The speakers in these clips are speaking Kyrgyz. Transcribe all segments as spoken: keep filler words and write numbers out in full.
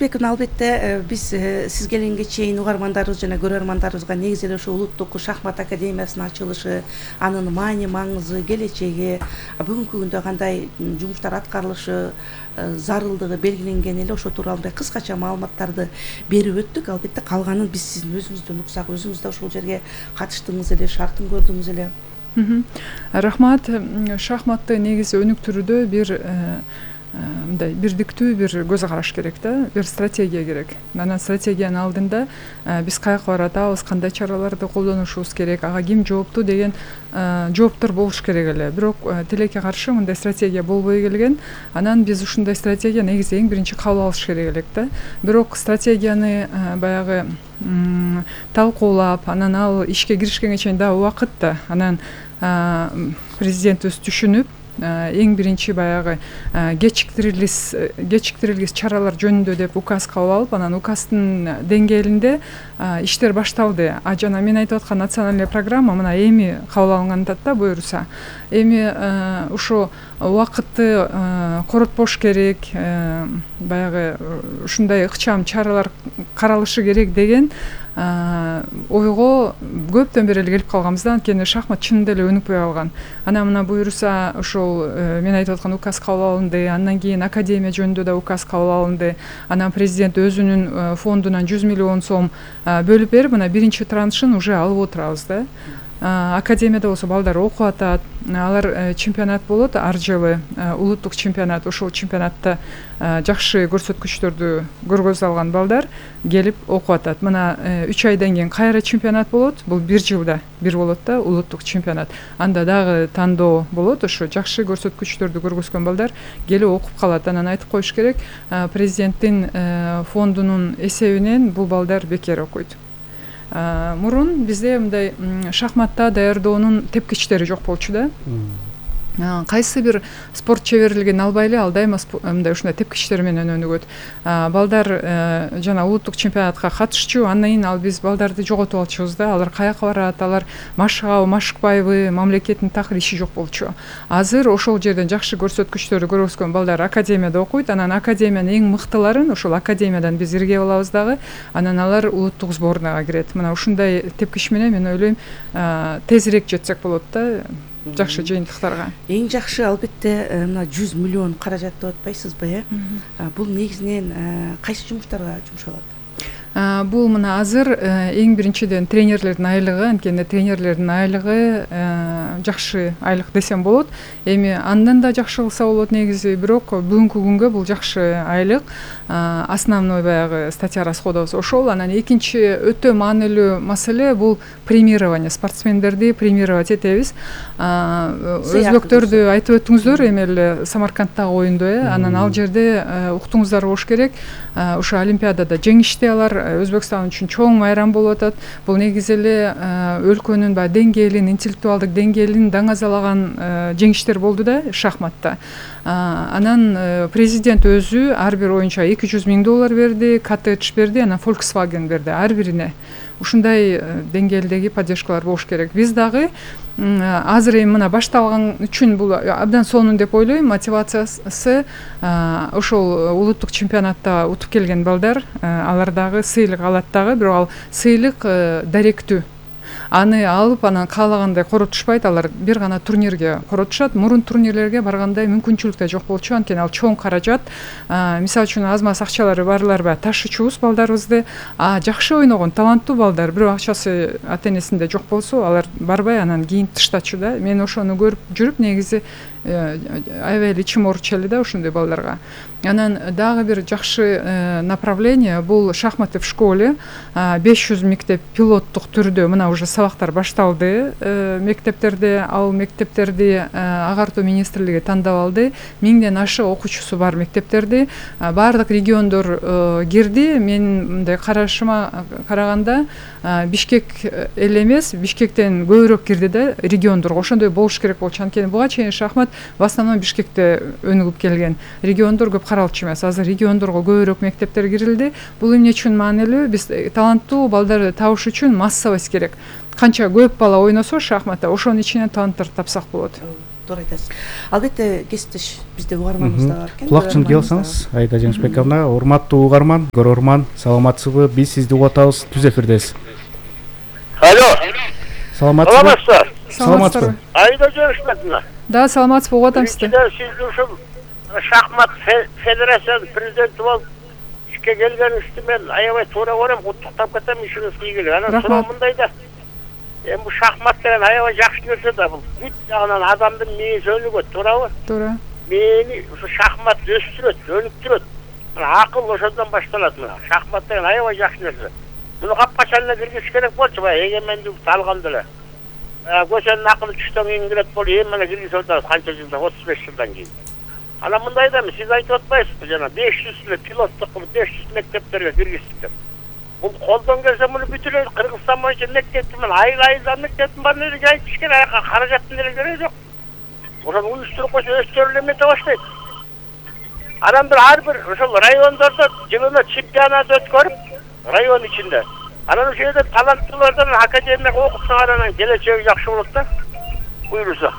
Болотбековна, албетте биз сиз келгенге чейин угармандарыбыз жана көрөрмандарыбызга негизи эле ушу улуттук шахмат академиясынын ачылышы, анын маани маңызы, келечеги, бүгүнкү күндө кандай жумуштар аткарылышы зарылдыгы белгиленген эле ошо тууралуу мындай кыскача маалыматтарды берип өттүк. Албетте калганын биз сиздин өзүңүздөн уксак, өзүңүз да ушул жерге катыштыңыз эле, шартын көрдүңүз эле. Рахмат. Шахматты негизи өнүктүрүүдө бир мындай бирдиктүү бир көз караш керек да, бир стратегия керек. Анан стратегиянын алдында биз каяка баратабыз, кандай чараларды колдонушубуз керек, ага ким жооптуу деген жооптор болуш керек эле. Бирок тилекке каршы мындай стратегия болбой келген. Анан биз ушундай стратегия негизи эң биринчи кабыл алыш керек элек да. Бирок стратегияны баягы талкуулап, анан ал ишке киришкенге чейин да убакыт да. Анан президентибиз түшүнүп, эң биринчи баягы кечиктирилгис кечиктирилгис чаралар жөнүндө деп указ кабыл алып, анан указдын деңгээлинде иштер башталды. А жана мен айтып аткан национальный программа мына эми кабыл алынганда да буюрса, эми ошо убакытты коротпош керек, баягы ушундай ыкчам чаралар каралышы керек деген ойго көптөн бери эле келип калганбыз да. Анткени шахмат чынында эле өнүкпөй калган. Анан мына буюрса ошол мен айтып аткан указ кабыл алынды, андан кийин академия жөнүндө да указ кабыл алынды. Анан президент өзүнүн фондунан жүз миллион сом бөлүп берип, мына биринчи траншын уже алып отурабыз да. Академияда болсо балдар окуп атат, алар чемпионат болот ар жылы, улуттук чемпионат. Ошол чемпионатта жакшы көрсөткүчтөрдү көргөзө алган балдар келип окуп атат. Мына үч айдан кийин кайра чемпионат болот. Бул бир жылда бир болот да, улуттук чемпионат. Анда дагы тандоо болот. Ошо жакшы көрсөткүчтөрдү көргөзгөн балдар келип окуп калат. Анан айтып коюш керек, президенттин фондунун эсебинен бул балдар бекер окуйт. Мурун бизде мындай шахматта даярдоонун тепкичтери жок болчу да. Кайсы бир спорт чеберлигин албайлы, ал дайыма мындай ушундай тепкичтер менен өнүгөт. Балдар жана улуттук чемпионатка катышчу, андан кийин ал биз балдарды жоготуп алчубуз да. Алар каяка барат, алар машыгабы, машыкпайбы, мамлекеттин такыр иши жок болчу. Азыр ошол жерден жакшы көрсөткүчтөрдү көргөзгөн балдар академияда окуйт. Анан академиянын эң мыктыларын ошол академиядан биз ирге алабыз дагы. Анан алар улуттук сборныйга кирет. Мына ушундай тепкич менен мен ойлойм тезирээк жетсек болот да жакшы жыйынтыктарга. Эң жакшы албетте мына жүз миллион каражат деп атпайсызбы, э? Бул негизинен кайсы жумуштарга жумшалат? Бул мына азыр эң биринчиден тренерлердин айлыгы, анткени тренерлердин айлыгы жакшы айлык десем болот. Эми андан да жакшы кылса болот негизи, бирок бүгүнкү күнгө бул жакшы айлык. Основной баягы статья расходов ошол. Анан экинчи өтө маанилүү маселе бул премирование. Спортсмендерди премировать этебиз. Өзбөктөрдү айтып өттүңүздөр, эми эле Самаркандтагы оюнду, э? Анан ал жерде уктуңуздар болуш керек. Ошо олимпиадада жеңишти алар. Өзбекстан үчүн чоң майрам болуп атат. Бул негизи эле өлкөнүн баягы деңгээлин, интеллектуалдык деңгээлин даңазалаган жеңиштер болду да шахматта. Анан президент өзү ар бир оюнчуга эки жүз миң доллар берди, коттедж берди, анан Volkswagen берди ар бирине. Ушундай деңгээлдеги поддержкалар болуш керек. Биз дагы азыр эми мына башталган үчүн бул абдан сонун деп ойлойм. Мотивациясы ошол улуттук чемпионатта утуп келген балдар, алар дагы сыйлык алат дагы, бирок ал сыйлык даректүү. Аны алып, анан каалагандай коротушпайт, алар бир гана турнирге коротушат. Мурун турнирлерге баргандай мүмкүнчүлүк да жок болчу, анткени ал чоң каражат. Мисалы үчүн аз маз акчалары барлар баягы ташычубуз балдарыбызды. А жакшы ойногон таланттуу балдар, бирок акчасы ата-энесинде жок болсо, алар барбай анан кийин тыштачу да. Мен ошону көрүп жүрүп негизи аябай эле ичим ооруч эле да ошондой балдарга. Анан дагы бир жакшы направление бул шахматы в школе. беш жүз мектеп пилоттук түрдө мына уже сабактар башталды мектептерде. Ал мектептерди агартуу министрлиги тандап алды. миңден ашык окуучусу бар мектептерди. Бардык региондор кирди. Мен мындай карашыма караганда Бишкек эле эмес, Бишкектен көбүрөөк кирди да региондорго. Ошондой болуш керек болчу. Анткени буга чейин шахмат в основном Бишкекте өнүгүп келген. Региондор көп каралчу эмес. Азыр региондорго көбүрөөк мектептер кирилди. Бул эмне үчүн маанилүү? Биз таланттуу балдарды табыш үчүн массовость керек. Канча көп бала ойносо шахматта, ошонун ичинен таланттарды тапсак болот. туура айтасыз. Албетте кесиптеш бизде угарманыбыз да бар экен. Кулак чыңгый алсаңыз, Айда Жеңишбековна, урматтуу угарман, көрөрман, саламатсызбы? Биз сизди угуп атабыз, Түз эфирдесиз. Алло. Саламатсызбы? Саламатсызбы? Айда Жеңишбековна. Да, саламатсызбы, угуп атам сизди. Сизди ушул шахмат федерациясынын президенти болуп ишке келгениңизди мен аябай туура көрөм, куттуктап кетем, ишиңиз ийгилик. Анан суроо мындай да. Эми бул шахмат деген аябай жакшы нерсе да, бул бүт жагынан адамдын мээси өнүгөт, туурабы? Туура. Мээни ушу шахмат өстүрөт, өнүктүрөт. Акыл ошондон башталат мына. Шахмат деген аябай жакшы нерсе. Муну капкачан эле киргизиш керек болчу, баягы эгемендикти алганда эле. Көчөнүн акылы түштөн кийин кирет болуп, эми эле киргизип атабыз канча жылдан, отуз беш жылдан кийин. Анан мындай да, сиз айтып атпайсызбы жана беш жүз эле пилоттук кылып беш жүз мектептерге киргиздик деп. Бул колдон келсе муну бүт эле Кыргызстан боюнча мектептин мен айыл айылдан мектептин баарын эле жайып ишкен, аяка каражаттын эле кереги жок. Ошону уюштуруп койсо өздөрү эле эмете баштайт. Анан бир ар бир ошол райондордо жылына чемпионат өткөрүп, район ичинде. Анан ошол жерде таланттуулардан академияга окутсаңар анан келечеги жакшы болот да. Буйрусо.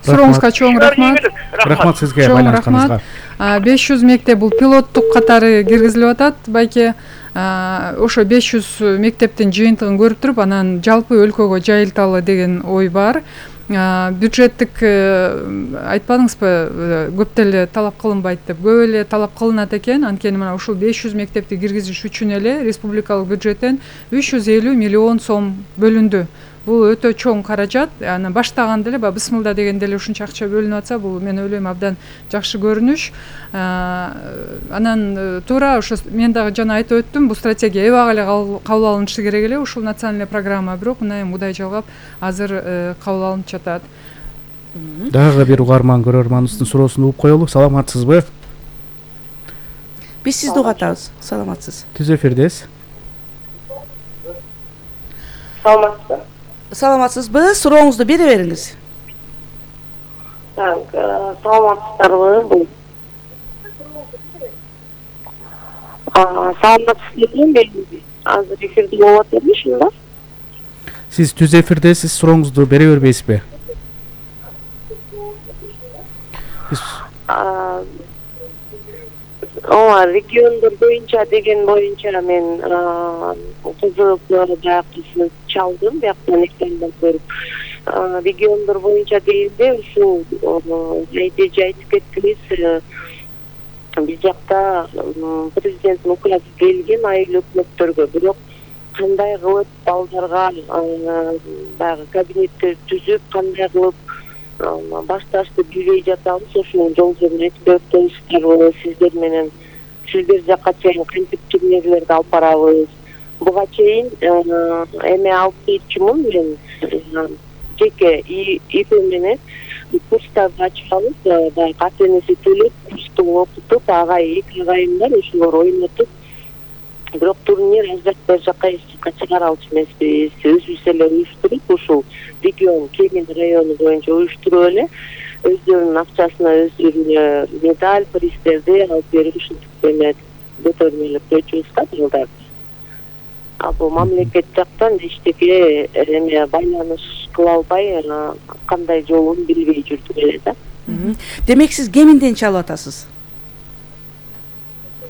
Сурооңузга чоң рахмат. Рахмат сизге байланышканыңызга. беш жүз мектеп бул пилоттук катары киргизилип атат, байке. Ошо беш жүз мектептин жыйынтыгын көрүп туруп, анан жалпы өлкөгө жайылталы деген ой бар. Бюджеттик айтпадыңызбы, көп деле талап кылынбайт деп. Көп эле талап кылынат экен, анткени мына ушул беш жүз мектепти киргизиш үчүн эле республикалык бюджеттен үч жүз элүү миллион сом бөлүндү. Бул өтө чоң каражат. Анан баштаганда эле баягы бысмылда дегенде эле ушунча акча бөлүнүп атса, бул мен ойлойм абдан жакшы көрүнүш. Анан туура ошо мен дагы жана айтып өттүм, бул стратегия эбак эле кабыл алынышы керек эле, ушул национальный программа, бирок мына эми мудай жалгап азыр кабыл алынып жатат. Дагы бир угарман көрөрманыбыздын суроосун угуп коелу. Саламатсызбы? Биз сизди угуп атабыз. Саламатсыз. Түз эфирдесиз. Саламатсызбы? Саламатсызбы? Сурооңузду бере бериңиз. Так, саламатсыздарбы? Бул саламатсызбы? Мен азыр эфирде болуп атам, ушунда. Сиз Түз эфирдесиз, сурооңузду бере бербейсизби? Ооба, региондор боюнча деген боюнча мен кызыгып баягы чалдым, бияктан экрандан көрүп. Региондор боюнча дегенде ушул эже айтып кеттиңиз, биз жакта президенттин указы келген айыл өкмөттөргө, бирок кандай кылып балдарга баягы кабинеттер түзүп, кандай кылып башташты билбей жатабыз, ошонун жол жөнүн айтып өтсөңүздөр, сиздер менен сиздер жакка чейин кантип турнирлерди алып барабыз. Буга чейин эме алып келчүмүн мен, жеке ИП менен курстарды ачканбыз, баягы ата энеси төлөп, курсту окутуп, агай, эки агайымдар ошолор ойнотуп, бирок турнир бер жакка эч жакка чыгара алчу эмеспиз. Өзүбүз эле уюштуруп, ушул регион Кемин району боюнча уюштуруп эле өздөрүнүн акчасына өздөрүнө медаль, пристерди алып берип ушинтип эме көтөрмөлөп койчубуз да жылдарды. А бул мамлекет жактан эчтеке эме байланыш кыла албай, кандай жолун билбей жүрдүк эле да. Демек сиз Кеминден чалып атасыз?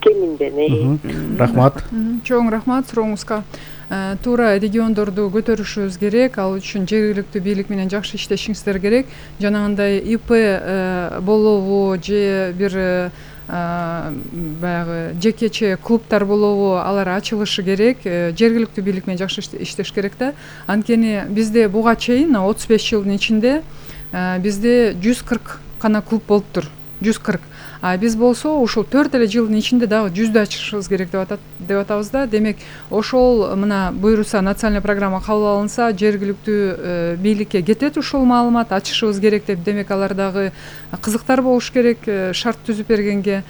Кеминден. Рахмат. Чоң рахмат сурооңузга. Туура региондорду көтөрүшүбүз керек, ал үчүн жергиликтүү бийлик менен жакшы иштешиңиздер керек. Жанагындай ИП болобу же бир баягы жекече клубтар болобу, алар ачылышы керек. Жергиликтүү бийлик менен жакшы иштеш керек да. Анткени бизде буга чейин отуз беш жылдын ичинде бизде жүз кырк гана клуб болуптур. жүз кырк. А биз болсо ушул төрт эле жылдын ичинде дагы жүздү ачышыбыз керек деп атат деп атабыз да. Демек ошол мына буйруса национальный программа кабыл алынса, жергиликтүү бийликке кетет ушул маалымат, ачышыбыз керек деп. Демек алар дагы кызыктар болуш керек, шарт түзүп бергенге.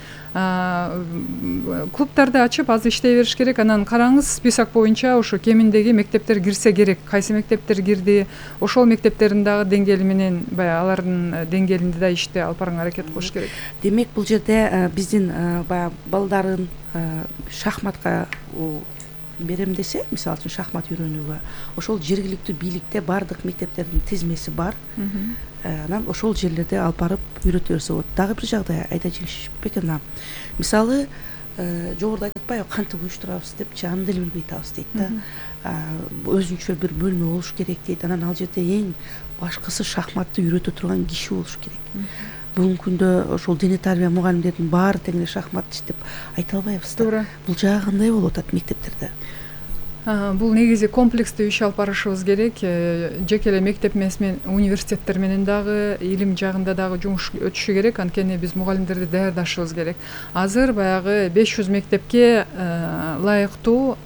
Клубтарды ачып аз иштей бериш керек. Анан караңыз, список боюнча ошо Кеминдеги мектептер кирсе керек. Кайсы мектептер кирди, ошол мектептердин дагы деңгээли менен баягы алардын деңгээлинде да ишти алып барганга аракет кылыш керек. Демек бул жерде биздин баягы балдарын шахматка берем десе, мисалы үчүн шахмат үйрөнүүгө, ошол жергиликтүү бийликте баардык мектептердин тизмеси бар. Анан ошол жерлерде алып барып үйрөтө берсе болот. Дагы бир жагдай айта жеңишпек ана. Мисалы, жогоруда айтып атпайбы, кантип уюштурабыз депчи, аны деле билбей атабыз дейт да. Өзүнчө бир бөлмө болуш керек дейт. Анан ал жерде эң башкысы шахматты үйрөтө турган киши болуш керек. Бүгүнкү күндө ошол дене тарбия мугалимдердин баары тең эле шахматчы деп айта албайбыз да. Туура. Бул жагы кандай болуп атат мектептерде? Бул негизи комплекстүү иш алып барышыбыз керек. Жеке эле мектеп эмес менен университеттер менен дагы илим жагында дагы жумуш өтүшү керек. Анткени биз мугалимдерди даярдашыбыз керек. Азыр баягы беш жүз мектепке ылайыктуу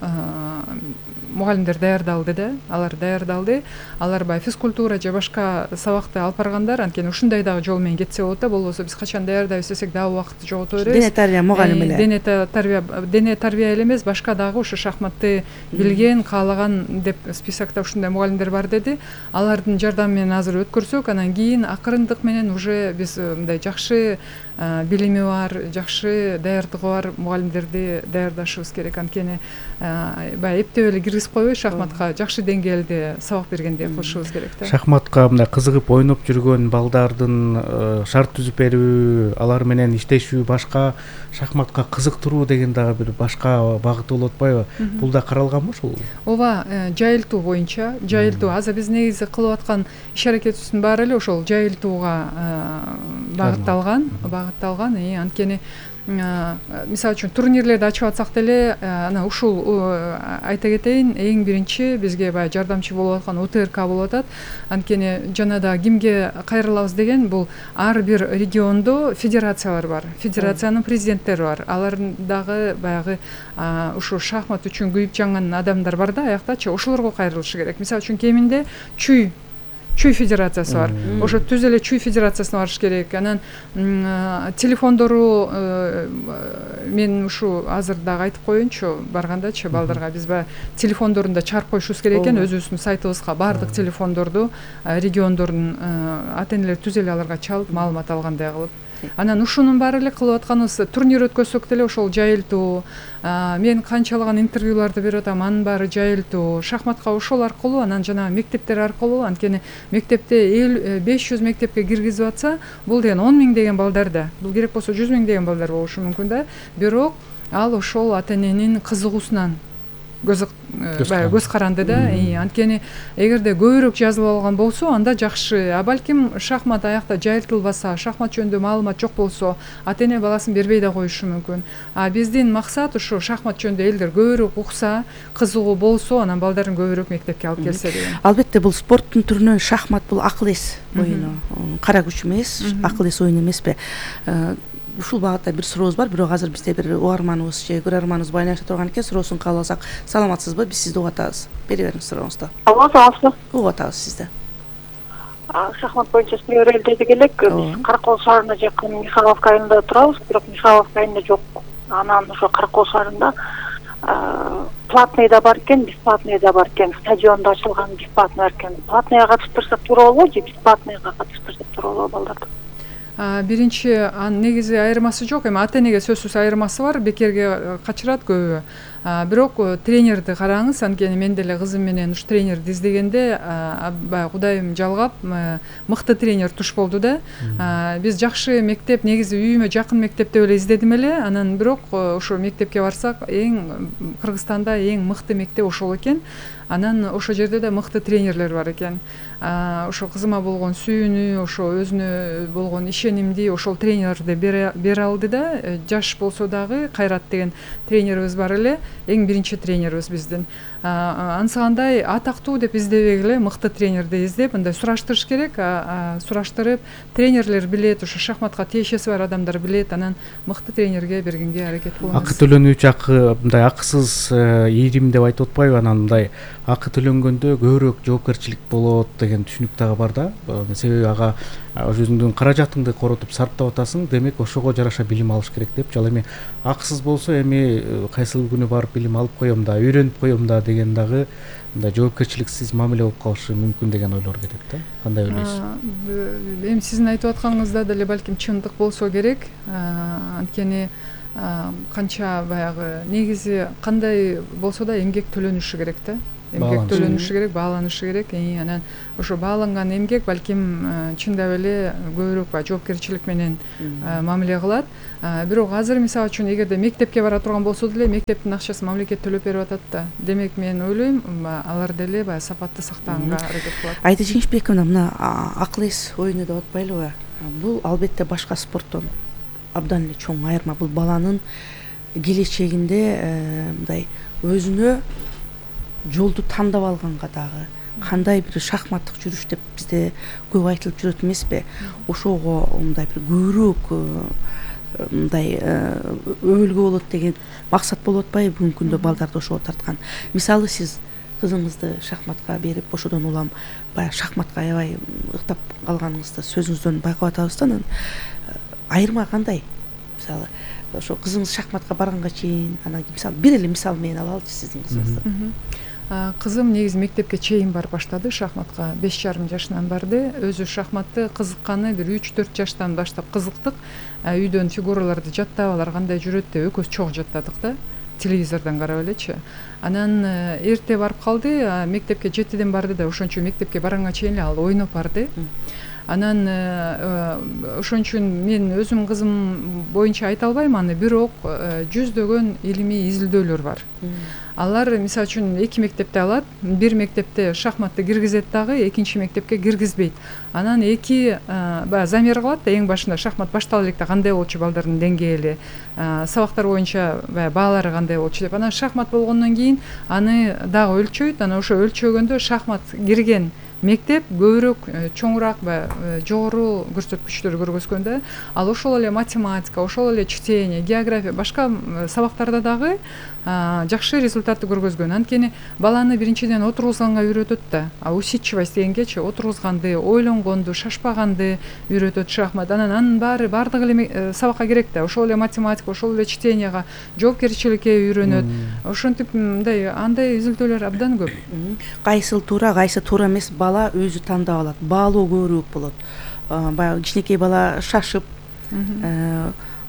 мугалимдер даярдалды да, алар даярдалды. Алар баягы физкультура же башка сабакты алып баргандар, анткени ушундай дагы жол менен кетсе болот да, болбосо биз качан даярдайбыз десек дагы убакытты жогото беребиз. Дене тарбия мугалими эле. Дене тарбия, дене тарбия эле эмес, башка дагы ушу шахматты билген, каалаган деп списокто ушундай мугалимдер бар деди. Алардын жардамы менен азыр өткөрсөк, анан кийин акырындык менен уже биз мындай жакшы билими бар, жакшы даярдыгы бар мугалимдерди даярдашыбыз керек. Анткени баягы эптеп эле киргизип койбой шахматка жакшы деңгээлде сабак бергендей кылышыбыз керек да. Шахматка мындай кызыгып ойноп жүргөн балдардын шарт түзүп берүү, алар менен иштешүү, башка шахматка кызыктыруу деген дагы бир башка багыты болуп атпайбы? Бул да каралганбы ошол? Ооба, жайылтуу боюнча, жайылтуу. Азыр биз негизи кылып аткан иш аракетибиздин баары эле ошол жайылтууга багытталган, багытталган. Анткени мисалы үчүн турнирлерди ачып атсак деле, ана ушул айта кетейин, эң биринчи бизге баягы жардамчы болуп аткан УТРК болуп атат. Анткени жана да кимге кайрылабыз деген, бул ар бир региондо федерациялар бар, федерациянын президенттери бар. Алардын дагы баягы ушу шахмат үчүн күйүп жанган адамдар бар да аяктачы, ошолорго кайрылышы керек. Мисалы үчүн кеминде чүй Чүй федерациясы бар. Ошо түз эле чүй федерациясына барыш керек. Анан телефондору мен ушу азыр дагы айтып коеюнчу, баргандачы балдарга биз баягы телефондорун да чыгарып коюшубуз керек экен өзүбүздүн сайтыбызга. Баардык телефондорду региондордун ата энелери түз эле аларга чалып маалымат алгандай кылып. Анан ушунун баары эле кылып атканыбыз, турнир өткөзсөк деле ошол жайылтуу. Мен канчалаган интервьюларды берип атам, анын баары жайылтуу. Шахматка ошол аркылуу, анан жана мектептер аркылуу, анткени мектепте беш жүз мектепке киргизип атса, бул деген он миң деген балдар да. Бул керек болсо жүз миң деген балдар болушу мүмкүн да. Бирок ал ошол ата эненин кызыгуусунан көз баягы көз каранды да. Анткени эгерде көбүрөөк жазылып алган болсо, анда жакшы. А балким шахмат аякта жайылтылбаса, шахмат жөнүндө маалымат жок болсо, ата эне баласын бербей да коюшу мүмкүн. А биздин максат ушу шахмат жөнүндө элдер көбүрөөк укса, кызыгуу болсо, анан балдарын көбүрөөк мектепке алып келсе деген. Албетте бул спорттун түрүнөн шахмат бул акыл эс оюну. Кара күч эмес, акыл эс оюну эмеспи? Ушул багытта бир сурообуз бар, бирок азыр бизде бир угарманыбыз же көрөрманыбыз байланыша турган экен, суроосун кабыл алсак. Саламатсызбы? Биз сизди угуп атабыз. Бери бериңиз сурооңузду. Алло, саламатсызбы? Угуп атабыз сизди. Шахмат боюнча сөйлөйбүз дедик элек. Биз Каракол шаарына жакын Михайловка айылында турабыз, бирок Михайловка айылында жок. Анан ошо Каракол шаарында платный да бар экен, бесплатный да бар экен. Стадиондо ачылган бесплатный бар экен. Платныйга катыштырсак туура болобу же бесплатныйга катыштырсак туура болобу балдарды? Биринчи анын негизи айырмасы жок, эми ата энеге сөзсүз айырмасы бар, бекерге качырат көбү. Бирок тренерди караңыз, анткени мен деле кызым менен уш тренерди издегенде баягы Кудайым жалгап мыкты тренер туш болду да. Биз жакшы мектеп, негизи үйүмө жакын мектеп деп эле издедим эле, анан бирок ошо мектепке барсак, эң Кыргызстанда эң мыкты мектеп ошол экен. Анан ошол жерде да мыкты тренерлер бар экен. Ошо кызыма болгон сүйүүнү, ошо өзүнө болгон ишенимди ошол тренерди бере алды да. Жаш болсо дагы Кайрат деген тренерибиз бар эле, эң биринчи тренерибиз биздин. Ансыгандай атактуу деп издебей эле мыкты тренерди издеп, мындай сураштырыш керек, сураштырып, тренерлер билет, ошо шахматка тиешеси бар адамдар билет, анан мыкты тренерге бергенге аракет кылабыз. Акы төлөнүүчү акы мындай акысыз ийрим деп айтып атпайбы? Анан мындай акы төлөнгөндө көбүрөөк жоопкерчилик болот деген түшүнүк дагы бар да. Себеби ага өзүңдүн каражатыңды коротуп сарптап атасың, демек ошого жараша билим алыш керек деп. Ал эми акысыз болсо эми кайсыл күнү барып билим алып коем да, үйрөнүп коем да деген дагы мындай жоопкерчиликсиз мамиле болуп калышы мүмкүн деген ойлор кетет да. Кандай ойлойсуз? Эми сиздин айтып атканыңызда деле балким чындык болсо керек. Анткени канча баягы негизи кандай болсо да эмгек төлөнүшү керек да. Эмгек төлөнүшү керек, бааланышы керек. Анан ошо бааланган эмгек балким чындап эле көбүрөөк баягы жоопкерчилик менен мамиле кылат. Бирок азыр мисалы үчүн эгерде мектепке бара турган болсо деле мектептин акчасын мамлекет төлөп берип атат да. Демек мен ойлойм, алар деле баягы сапатты сактаганга аракет кылат. Айда Жеңишбековна, мына акыл эс оюну деп атпайлыбы? Бул албетте башка спорттон абдан эле чоң айырма. Бул баланын келечегинде мындай өзүнө жолду тандап алганга дагы кандай бир шахматтык жүрүш деп бизде көп айтылып жүрөт эмеспи? Ошого мындай бир көбүрөөк мындай өбөлгө болот деген максат болуп атпайбы бүгүнкү күндө балдарды ошого тарткан? Мисалы сиз кызыңызды шахматка берип, ошодон улам баягы шахматка аябай ыктап калганыңызды сөзүңүздөн байкап атабыз да. Анан айырма кандай? Мисалы ошо кызыңыз шахматка барганга чейин, анан мисалы бир эле мисал менен алалычы сиздин кызыңызды. Кызым негизи мектепке чейин барып баштады, шахматка беш жарым жашынан барды. Өзү шахматты кызыкканы бир үч төрт жаштан баштап кызыктык. Үйдөн фигураларды жаттап, алар кандай жүрөт деп экөөбүз чогуу жаттадык да, телевизордон карап элечи. Анан эрте барып калды, мектепке жетиден барды да, ошон үчүн мектепке барганга чейин ал ойноп барды. Анан ошон үчүн мен өзүм кызым боюнча айта албайм аны, бирок жүздөгөн илимий изилдөөлөр бар. Алар мисалы үчүн эки мектепте алат, бир мектепте шахматты киргизет дагы, экинчи мектепке киргизбейт. Анан эки баягы замер кылат да, эң башында шахмат баштала электе кандай болчу балдардын деңгээли, сабактар боюнча баягы баалары кандай болчу деп. Анан шахмат болгондон кийин аны дагы өлчөйт. Анан ошо өлчөгөндө шахмат кирген мектеп көбүрөөк чоңураак баягы жогору көрсөткүчтөрдү көргөзгөндө, ал ошол эле математика, ошол эле чтение, география, башка сабактарда дагы жакшы результатты көргөзгөн. Анткени баланы биринчиден отургузганга үйрөтөт да. А усидчивость дегенгечи отургузганды, ойлонгонду, шашпаганды үйрөтөт шахмат. Анан анын баары баардык эле сабакка керек да. Ошол эле математика, ошол эле чтенияга, жоопкерчиликке үйрөнөт. Ошентип мындай андай изилдөөлөр абдан көп. Кайсыл туура, кайсы туура эмес, бала өзү тандап алат. Баалоо көбүрөөк болот. Баягы кичинекей бала шашып,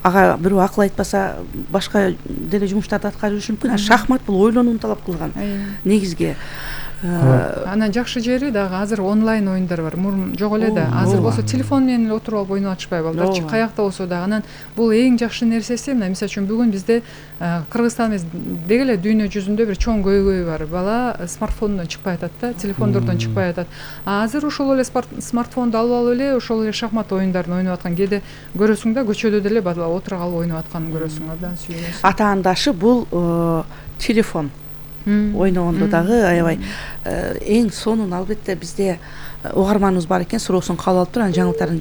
ага бирөө акыл айтпаса башка деле жумуштарды аткарып жүрүшү мүмкүн. Шахмат бул ойлонууну талап кылган негизги. Анан жакшы жери дагы азыр онлайн оюндар бар. Мурун жок эле да. Азыр болсо телефон менен эле отуруп алып ойноп атышпайбы балдарчы, каякта болсо дагы. Анан бул эң жакшы нерсеси, мына мисалы үчүн бүгүн бизде Кыргызстан эмес деги эле дүйнө жүзүндө бир чоң көйгөй бар. Бала смартфондон чыкпай атат да, телефондордон чыкпай атат. А азыр ошол эле смартфонду алып алып эле ошол эле шахмат оюндарын ойноп аткан. Кээде көрөсүң да, көчөдө деле бала отура калып ойноп атканын көрөсүң, абдан сүйүнөсүң. Атаандашы бул телефон ойногондо дагы аябай эң сонун албетте бизде угарманыбыз бар экен, суроосун кабыл алып туруп, анан жаңылыктарын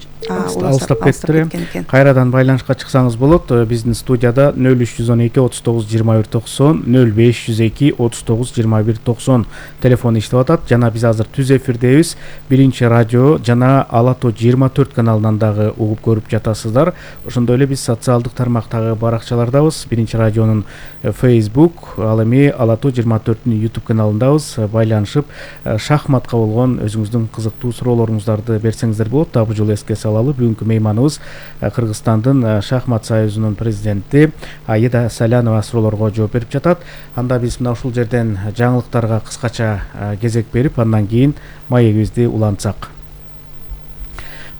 алыстап кетти. Кайрадан байланышка чыксаңыз болот. Биздин студияда нөл үч жүз он эки отуз тогуз жыйырма бир токсон, нөл беш жүз эки отуз тогуз жыйырма бир токсон телефон иштеп атат. Жана биз азыр түз эфирдебиз. Биринчи радио жана Ала Тоо жыйырма төрт каналынан дагы угуп көрүп жатасыздар. Ошондой эле биз социалдык тармактагы баракчалардабыз. Биринчи радионун Facebook, ал эми Ала Тоо жыйырма төрттүн YouTube каналындабыз. Байланышып шахматка болгон өзүңүздүн кызыктуу суроолоруңуздарды берсеңиздер болот. Дагы бул жолу эске салалы, бүгүнкү мейманыбыз Кыргызстандын шахмат союзунун президенти Аида Салянова суроолорго жооп берип жатат. Анда биз мына ушул жерден жаңылыктарга кыскача кезек берип, андан кийин маегибизди улантсак.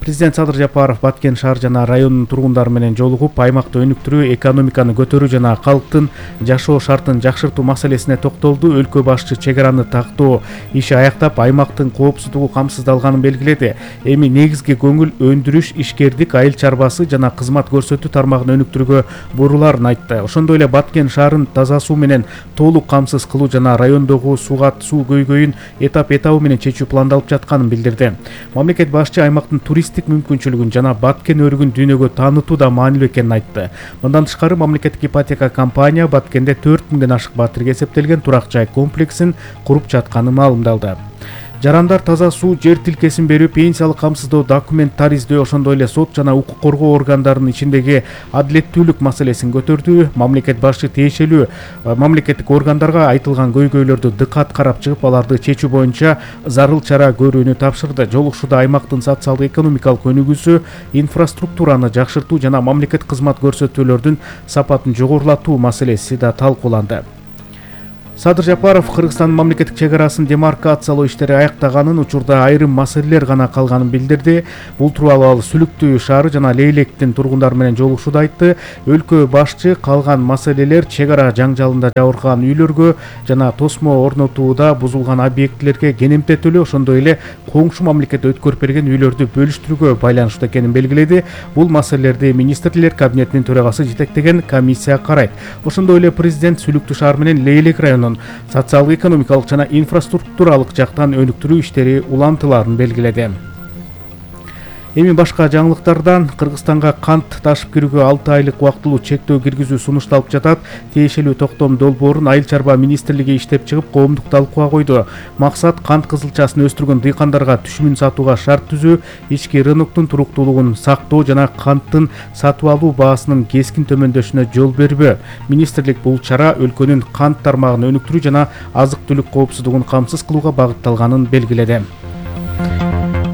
Президент Садыр Жапаров Баткен шаар жана районунун тургундары менен жолугуп, аймакты өнүктүрүү, экономиканы көтөрүү жана калктын жашоо шартын жакшыртуу маселесине токтолду. Өлкө башчы чек араны тактоо иши аяктап, аймактын коопсуздугу камсыздалганын белгиледи. Эми негизги көңүл өндүрүш, ишкердик, айыл чарбасы жана кызмат көрсөтүү тармагын өнүктүрүүгө буруларын айтты. Ошондой эле Баткен шаарын таза суу менен толук камсыз кылуу жана райондогу суугат суу көйгөйүн этап этабы менен чечүү пландалып жатканын билдирди. Мамлекет башчы аймактын турист мүмкүнчүлүгүн жана Баткен өрүгүн дүйнөгө таанытуу да маанилүү экенин айтты. Мындан тышкары мамлекеттик ипотека компания Баткенде төрт миңден ашык батирге эсептелген турак жай комплексин куруп жатканы маалымдалды. Жарандар таза суу, жер тилкесин берүү, пенсиялык камсыздоо, документ тариздөө, ошондой эле сот жана укук коргоо органдарынын ичиндеги адилеттүүлүк маселесин көтөрдү. Мамлекет башчы тиешелүү мамлекеттик органдарга айтылган көйгөйлөрдү дыкат карап чыгып, аларды чечүү боюнча зарыл чара көрүүнү тапшырды. Жолугушууда аймактын социалдык экономикалык өнүгүүсү, инфраструктураны жакшыртуу жана мамлекет кызмат көрсөтүүлөрдүн сапатын жогорулатуу маселеси да талкууланды. Садыр Жапаров Кыргызстандын мамлекеттик чек арасын демаркациялоо иштери аяктаганын, учурда айрым маселелер гана калганын билдирди. Бул тууралуу ал Сүлүктүү шаары жана Лейлектин тургундары менен жолугушууда айтты. Өлкө башчы калган маселелер чек ара жаңжалында жабыркаган үйлөргө жана тосмо орнотууда бузулган объектилерге кенемте төлөө, ошондой эле коңшу мамлекет өткөрүп берген үйлөрдү бөлүштүрүүгө байланыштуу экенин белгиледи. Бул маселелерди министрлер кабинетинин төрагасы жетектеген комиссия карайт. Ошондой эле президент Сүлүктүү шаар менен Лейлек районунун социалдык экономикалык жана инфраструктуралык жактан өнүктүрүү иштери улантыларын белгиледи. Эми башка жаңылыктардан Кыргызстанга кант ташып кирүүгө алты айлык убактылуу чектөө киргизүү сунушталып жатат. Тиешелүү токтом долбоорун Айыл чарба министрлиги иштеп чыгып, коомдук талкууга койду. Максат кант кызылчасын өстүргөн дыйкандарга түшүмүн сатууга шарт түзүү, ички рыноктун туруктуулугун сактоо жана канттын сатып алуу баасынын кескин төмөндөшүнө жол бербөө. Министрлик бул чара өлкөнүн кант тармагын өнүктүрүү жана азык-түлүк коопсуздугун камсыз кылууга багытталганын белгиледи.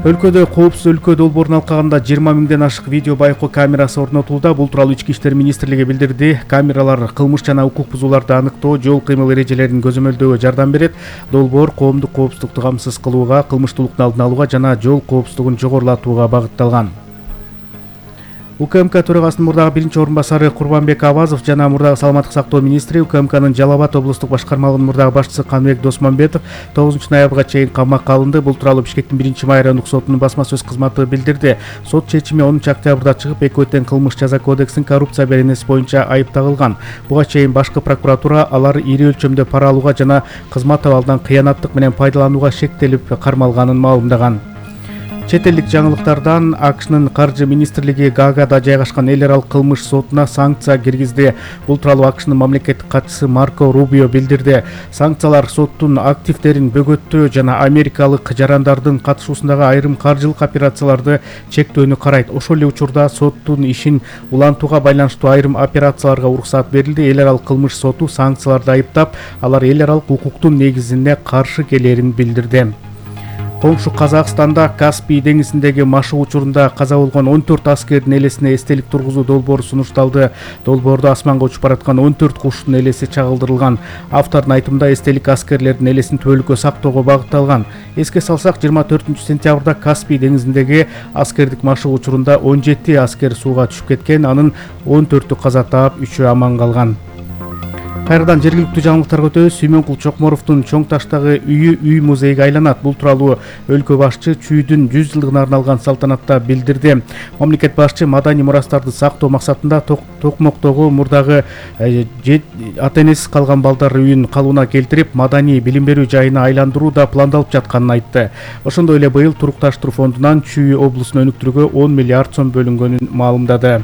Өлкөдө коопсуз өлкө долбоорун алкаганда жыйырма миңден ашык видео байкоо камерасы орнотулду. Бул тууралуу Ички иштер министрлиги билдирди. Камералар кылмыш жана укук бузууларды аныктоо, жол кыймыл эрежелерин көзөмөлдөөгө жардам берет. Долбоор коомдук коопсуздукту камсыз кылууга, кылмыштуулуктун алдын алууга жана жол коопсуздугун жогорулатууга багытталган. УКМК төрагасынын мурдагы биринчи орун басары Курбанбек Авазов жана мурдагы саламаттык сактоо министри, УКМКнын Жалал Абад облустук башкармалыгынын мурдагы башчысы Каныбек Досмамбетов тогузунчу ноябрга чейин камакка алынды. Бул тууралуу Бишкектин биринчи май райондук сотунун басма сөз кызматы билдирди. Сот чечими онунчу октябрда чыгып, экөө тең кылмыш жаза кодексинин коррупция беренеси боюнча айып тагылган. Буга чейин башкы прокуратура алар ири өлчөмдө пара алууга жана кызмат абалдан кыянаттык менен пайдаланууга шектелип кармалганын маалымдаган. Чет элдик жаңылыктардан АКШнын каржы министрлиги Гаагада жайгашкан эл аралык кылмыш сотуна санкция киргизди. Бул тууралуу АКШнын мамлекеттик катчысы Марко Рубио билдирди. Санкциялар соттун активдерин бөгөттөө жана америкалык жарандардын катышуусундагы айрым каржылык операцияларды чектөөнү карайт. Ошол эле учурда соттун ишин улантууга байланыштуу айрым операцияларга уруксат берилди. Эл аралык кылмыш соту санкцияларды айыптап, алар эл аралык укуктун негизине каршы келерин билдирди. Коңшу Казакстанда Каспий деңизиндеги машык учурунда каза болгон он төрт аскердин элесине эстелик тургузуу долбоору сунушталды. Долбоордо асманга учуп бараткан он төрт куштун элеси чагылдырылган. Автордун айтымында эстелик аскерлердин элесин түбөлүккө сактоого багытталган. Эске салсак, жыйырма төртүнчү сентябрда Каспий деңизиндеги аскердик машык учурунда он жети аскер сууга түшүп кеткен, анын он төртү каза таап, үчөө аман калган. Кайрадан жергиликтүү жаңылыктарга өтөбүз. Сүймөнкул Чокморовдун Чоң таштагы үйү үй музейге айланат. Бул тууралуу өлкө башчы чүйдүн жүз жылдыгына арналган салтанатта билдирди. Мамлекет башчы маданий мурастарды сактоо максатында Токмоктогу мурдагы ата энесиз калган балдар үйүн калыбына келтирип, маданий билим берүү жайына айландыруу да пландалып жатканын айтты. Ошондой эле быйыл турукташтыруу фондунан Чүй облусун өнүктүрүүгө он миллиард сом бөлүнгөнүн маалымдады.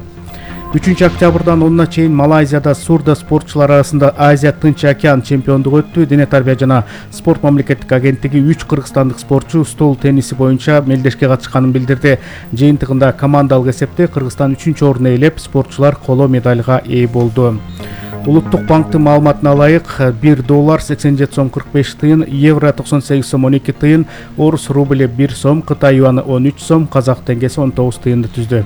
үчүнчү октябрдан онуна чейин Малайзияда сурдо спортчулар арасында Азия Тынч океан чемпиондугу өттү. Дене тарбия жана спорт мамлекеттик агенттиги үч кыргызстандык спортчу стол тенниси боюнча мелдешке катышканын билдирди. Жыйынтыгында командалык эсепте Кыргызстан үчүнчү орунду ээлеп, спортчулар коло медальга ээ болду. Улуттук банктын маалыматына ылайык, бир доллар сексен жети сом кырк беш тыйын, евро токсон сегиз сом он эки тыйын, орус рубль бир сом, Кытай юаны он үч сом, казак теңгеси он тогуз тыйынды түздү.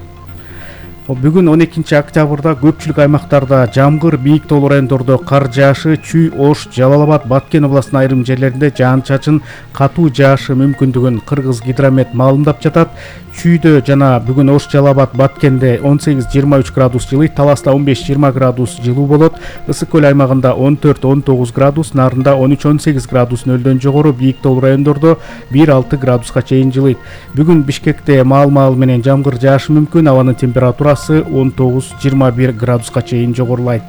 Бүгүн он экинчи октябрда көпчүлүк аймактарда жамгыр, бийик тоолуу райондордо кар жаашы, Чүй, Ош, Жалал Абад, Баткен областынын айрым жерлеринде жаан-чачын, катуу жаашы мүмкүндүгүн Кыргыз гидромет маалымдап жатат. Чүйдө жана бүгүн Ош, Жалал Абад, Баткенде он сегиз жыйырма үч градус жылыйт, Таласта он беш жыйырма градус жылуу болот. Ысык көл аймагында он төрт он тогуз градус, Нарында он үч он сегиз градус нөлдөн жогору, бийик тоолуу райондордо бир алты градуска чейин жылыйт. Бүгүн Бишкекте маал-маал менен жамгыр жаашы мүмкүн, абанын температурасы он тогуз жыйырма бир градуска чейин жогорулайт.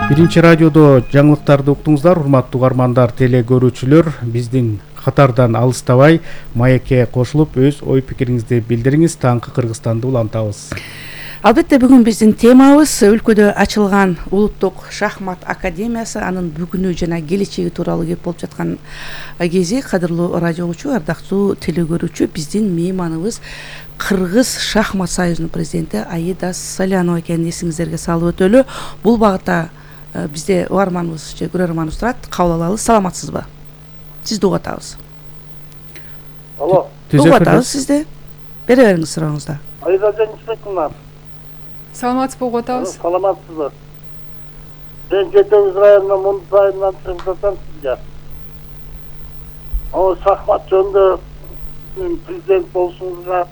Биринчи радиодо жаңылыктарды уктуңуздар, урматтуу угармандар, теле көрүүчүлөр. Биздин катардан алыстабай маекке кошулуп, өз ой пикириңизди билдириңиз. Таңкы Кыргызстанды улантабыз. Албетте бүгүн биздин темабыз өлкөдө ачылган улуттук шахмат академиясы, анын бүгүнү жана келечеги тууралуу кеп болуп жаткан кези. Кадырлуу радио угуучу, ардактуу телекөрүүчү, биздин мейманыбыз Кыргыз шахмат союзунун президенти Аида Салянова экенин эсиңиздерге салып өтөлү. Бул багытта бизде угарманыбыз же көрөрманыбыз турат. Кабыл алалы. Саламатсызбы? Сизди угуп атабыз. Алло. Угуп атабыз сизди. Бере бериңиз сурооңузду. Аида Жанисбековна. Саламатсызбы, угуп атабыз. Саламатсызбы. Мен Жетегиз районунун Мундуз айылынан чыгып жатам сизге. О, шахмат жөнүндө президент болушуңузга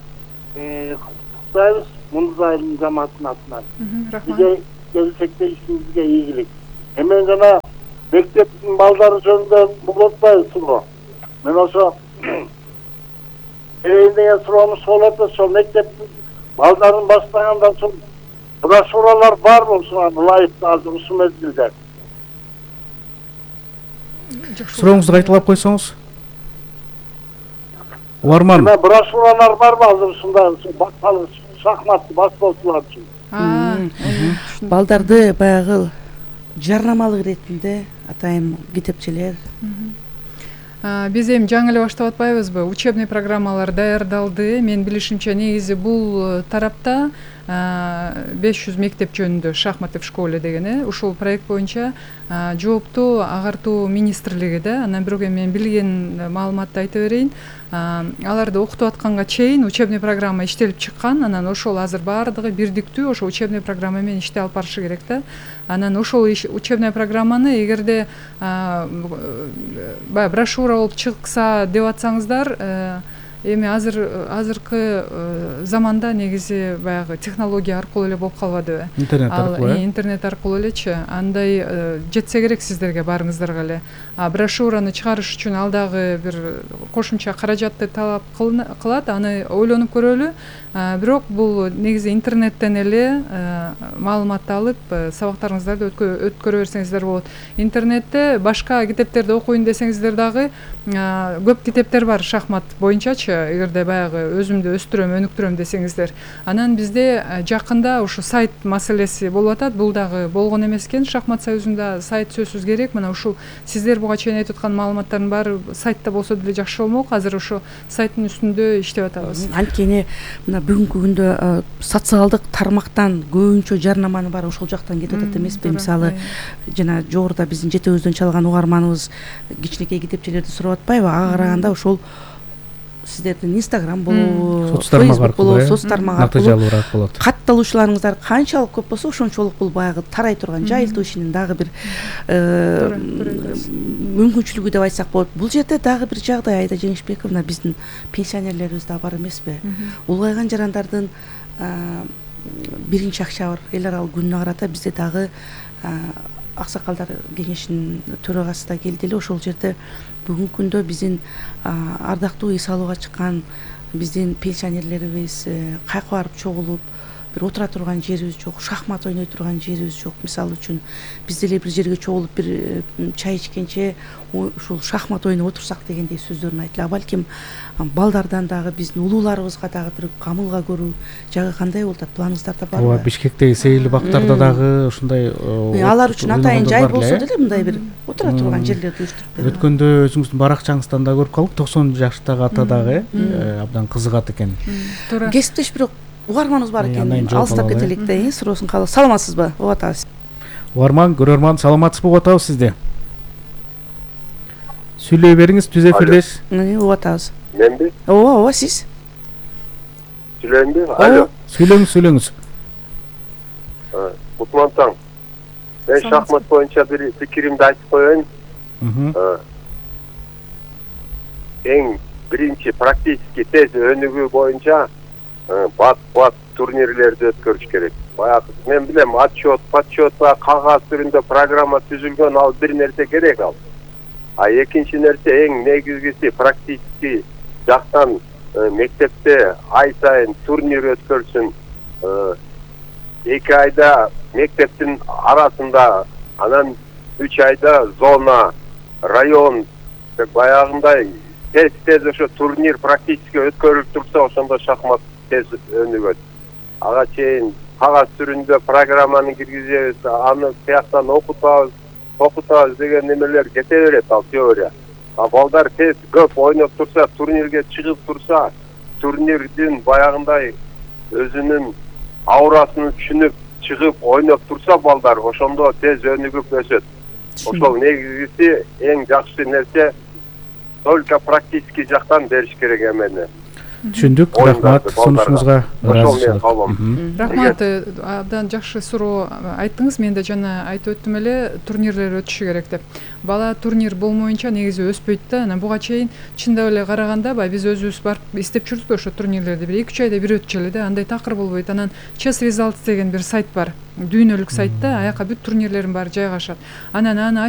куттуктайбыз Мундуз айылынын жамаатынын атынан. Рахмат. Келечекте ишиңизге ийгилик. Эмен жана мектептин балдары жөнүндө бул атпайсызбы? Мен ошо эйиндеген суроону болот, ошо мектептин балдарын баштагандан соң брошюралар барбы ушуга ылайыктуу азыр ушул мезгилде? Сурооңузду кайталап койсоңуз. Угарман. Брошюралар барбы азыр ушундай шахматты баштоочулар үчүн? Балдарды баягы жарнамалык иретинде атайын китепчелер. Биз эми жаңы эле баштап атпайбызбы? Учебный программалар даярдалды. Мен билишимче негизи бул тарапта беш жүз мектеп жөнүндө шахматы в школе деген ушул проект боюнча жооптуу агартуу министрлиги да. Анан бирок эми мен билген маалыматты айта берейин. Аларды окутуп атканга чейин учебный программа иштелип чыккан. Анан ошол азыр баардыгы бирдиктүү ошо учебный программа менен иштей алып барышы керек да. Анан ошол учебный программаны эгерде баягы брошюра болуп чыкса деп атсаңыздар, эми азыр азыркы заманда негизи баягы технология аркылуу эле болуп калбадыбы? Интернет аркылуу. Интернет аркылуу элечи. Андай жетсе керек сиздерге баарыңыздарга эле. А брошюраны чыгарыш үчүн ал дагы бир кошумча каражатты талап кылат. Аны ойлонуп көрөлү. Бирок бул негизи интернеттен эле маалыматты алып сабактарыңыздарды өткөрө берсеңиздер болот. Интернетте башка китептерди окуйн десеңиздер дагы көп китептер бар шахмат боюнчачы. Эгерде баягы өзүмдү өстүрөм, өнүктүрөм десеңиздер. Анан бизде жакында ушу сайт маселеси болуп атат. Бул дагы болгон эмес экен. Шахмат союзунда сайт сөзсүз керек. Мына ушул сиздер буга чейин айтып аткан маалыматтардын баары сайтта болсо деле жакшы болмок. Азыр ошо сайттын үстүндө иштеп атабыз. Анткени мына бүгүнкү күндө социалдык тармактан көбүнчө жарнаманын баары ошол жактан кетип атат эмеспи? Мисалы жана жогоруда биздин жетегибизден чалган угарманыбыз кичинекей китепчелерди сурап атпайбы? Ага караганда ошол сиздердин Инстаграм болобу, Фейсбук болобу, соц тармак аркылуу натыйжалуураак болот. Катталуучуларыңыздар канчалык көп болсо ошончолук бул баягы тарай турган жайылтуу ишинин дагы бир мүмкүнчүлүгү деп айтсак болот. Бул жерде дагы бир жагдай, Аида Жеңишбековна, биздин пенсионерлерибиз да бар эмеспи? Улгайган жарандардын биринчи октябрь эл аралык күнүнө карата бизде дагы аксакалдар кеңешинин төрагасы да келди эле. Ошол жерде бүгүнкү күндө биздин ардактуу үй салууга чыккан биздин пенсионерлерибиз кайка барып чогулуп, бир отура турган жерибиз жок, шахмат ойной турган жерибиз жок. Мисалы үчүн биз деле бир жерге чогулуп бир чай ичкенче ушул шахмат ойноп отурсак дегендей сөздөрүн айтты. Балким балдардан дагы биздин улууларыбызга дагы бир камылга көрүү жагы кандай болуп атат? Планыңыздарда барбы? Ооба, Бишкектеги сейил бактарда дагы ушундай алар үчүн атайын жай болсо деле мындай бир отура турган жерлерди уюштуруп берүү. Өткөндө өзүңүздүн баракчаңыздан да көрүп калдык, токсон жаштагы ата дагы абдан кызыгат экен. Туура. Кесиптеш бирок угарманыбыз бар экен. Алыстап кетелик да, суроосун кабыл. Саламатсызбы? Угуп атабыз. Угарман, көрөрман, саламатсызбы? Угуп атабыз сизди. Сүйлөй бериңиз, түз эфирдесиз. Угуп атабыз. Менби? Ооба, ооба, сиз. Сүйлөйүнбү? Алло. Сүйлөңүз, сүйлөңүз. Кутман таң. Мен шахмат боюнча бир пикиримди айтып коеюн. Эң биринчи практически тез өнүгүү боюнча бат-бат турнирлерди өткөрүш керек. Баягы мен билем, отчет, подсчет, кагаз түрүндө программа түзүлгөн, ал бир нерсе керек ал. А экинчи нерсе эң негизгиси практически жактан мектепте ай сайын турнир өткөрсүн. Эки айда мектептин арасында, анан үч айда зона, район, баягындай тез-тез ошо турнир практически өткөрүлүп турса, ошондо шахмат тез өнүгөт. Ага чейин кагаз түрүндө программаны киргизебиз, аны тияктан окутабыз, окутабыз деген немелер кете берет ал теория. А балдар тез көп ойноп турса, турнирге чыгып турса, турнирдин баягындай өзүнүн аурасын түшүнүп чыгып ойноп турса балдар, ошондо тез өнүгүп өсөт. Ошол негизгиси эң жакшы нерсе только практический жактан бериш керек эмени. Түшүндүк. Рахмат сунушуңузга. Рахмат. Абдан жакшы суроо айттыңыз. Мен да жана айтып өттүм эле, турнирлер өтүшү керек деп. Бала турнир болмоюнча негизи өспөйт да. Анан буга чейин чындап эле караганда баягы биз өзүбүз барып издеп жүрдүк ошо турнирлерди. Бир эки үч айда бир өтчү эле да. Андай такыр болбойт. Анан Chess Results деген бир сайт бар. Дүйнөлүк сайт да. Аяка бүт турнирлердин баары жайгашат. Анан аны